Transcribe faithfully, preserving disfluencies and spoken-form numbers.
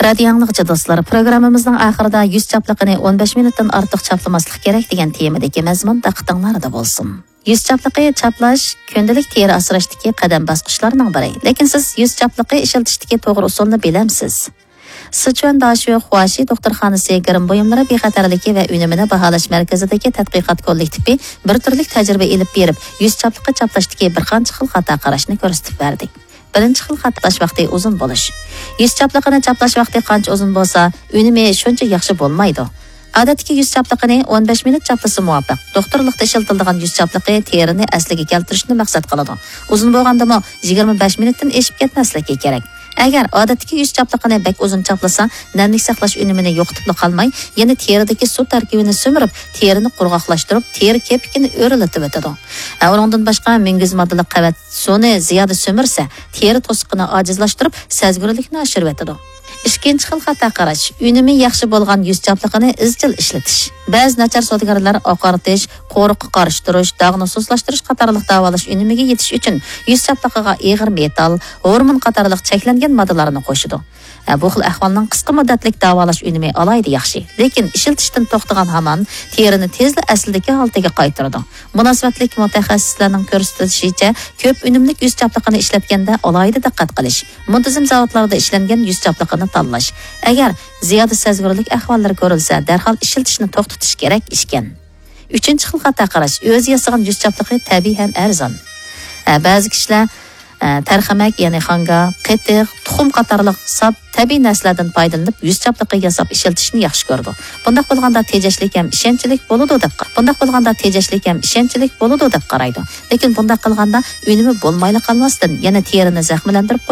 رادىيو ئاڭلىغۇچى دوستلار، پروگراممىمىزنىڭ ئاخىرىدا يۈز چاپلىقىنى ئون بەش مىنۇتتىن ئارتۇق چاپلىماسلىق كېرەك دېگەن تېمىدىكى مەزمۇن دىققىتىڭلاردا بولسۇن. يۈز چاپلىقى چاپلاش كۈندىلىك تېرە ئاسراشتىكى قەدەم باسقۇچلارنىڭ بىرى. لېكىن سىز يۈز چاپلىقى ئىشلىتىشتىكى توغرا ئۇسۇلنى بىلەمسىز؟ سىچۈەن داشۆ خۇاشى دوختۇرخانىسى گىرىم بۇيۇملىرى بىخەتەرلىكى ۋە ئۈنۈمىنى باھالاش مەركىزىدىكى تەتقىقات كوللېكتىپى بىر تۈرلۈك تەجرىبە ئېلىپ بېرىپ، يۈز چاپلىقى چاپلاشتىكى بىر قانچە خىل خاتا قاراشنى كۆرسىتىپ بەردى. بىرىنچى خىل خاتا چاپلاش ۋاقتى ئۇزۇن بولۇش. يۈز چاپلىقىنى چاپلاش ۋاقتى قانچە ئۇزۇن بولسا، ئۈنۈمى شۇنچە ياخشى بولمايدۇ. ئادەتتىكى يۈز چاپلىقىنى ئون بەش مىنۇت چاپلىسا مۇۋاپىق. دوختۇرلۇقتا ئىشلىتىلىدىغان يۈز چاپلىقى تېرىنى ئەسلىگە كەلتۈرۈشنى مەقسەت قىلىدۇ. ئۇزۇن بولغاندىمۇ يىگىرمە بەش مىنۇتتىن ئېشىپ كەتمەسلىكى كېرەك. ئەگەر ئادەتتىكى يۈز چاپلىقىنى بەك ئۇزۇن چاپلىسا، نەملىك ساقلاش ئۈنۈمىنى يوقىتىپلا قالماي، يەنە تېرىدىكى سۇ تەركىبىنى سۈمۈرۈپ، تېرىنى قۇرغاقلاشتۇرۇپ، تېرە كېپىكىنى ئۆرلىتىۋېتىدۇ. ئە، ئۇنىڭدىن باشقا، مۈڭگۈز ماددىلىق قەۋەت سۇنى زىيادە سۈمۈرسە، تېرە توسۇقىنى ئاجىزلاشتۇرۇپ، سەزگۈرلۈكنى ئاشۇرۇۋېتىدۇ. ئىككىنچى خىل خاتا قاراش، ئۈنۈمى ياخشى بولغان يۈز چاپلىقىنى ئىزچىل ئىشلىتىش. بەزى ناچار سودىگەرلەر ئاقارتىش، قورۇققا قارشى تۇرۇش، داغنى سۇسلاشتۇرۇش قاتارلىق داۋالاش ئۈنۈمىگە يېتىش ئۈچۈن يۈز چاپلىقىغا ئېغىر مېتال، ھورمون قاتارلىق چەكلەنگەن ماددىلارنى قوشىدۇ. ھە، بۇ خىل ئەھۋالنىڭ قىسقا مۇددەتلىك داۋالاش ئۈنۈمى ئالاھىدە ياخشى، لېكىن ئىشلىتىشتىن توختىغان ھامان تېرىنى تېزلا ئەسلىدىكى ھالىتىگە قايتۇرىدۇ. مۇناسىۋەتلىك مۇتەخەسسىسلەرنىڭ كۆرسىتىشىچە، كۆپ ئۈنۈملۈك يۈز چاپلىقىنى ئىشلەتكەندە ئالاھىدە دىققەت قىلىش، مۇنتىزىم زاۋۇتلاردا ئىشلەنگەن يۈز چاپلىقىنى تاللاش. ئەگەر زىيادە سەزگۈرلۈك ئەھۋاللىرى كۆرۈلسە، دەرھال ئىشلىتىشنى توختىتىش كېرەك ئىكەن. ئۈچىنچى خىل خاتا قاراش، ئۆزى ياسىغان يۈز چاپلىقى تەبىئىي ھەم ئەرزان. ھە، بەزى كىشىلەر، ئە، تەرخەمەك، يەنى خاڭگا، قېتىق، تۇخۇم قاتارلىق ساپ تەبىئىي نەرسىلەردىن پايدىلىنىپ، يۈز چاپلىقى ياساپ ئىشلىتىشنى ياخشى كۆرىدۇ. بۇنداق بولغاندا تېجەشلىك ھەم ئىشەنچلىك بولىدۇ دەپ، بۇنداق بولغاندا تېجەشلىك ھەم ئىشەنچلىك بولىدۇ دەپ قارايدۇ. لېكىن بۇنداق قىلغاندا ئۈنۈمى بولمايلا قالماستىن، يەنە تېرىنى زەخىملەندۈرۈپ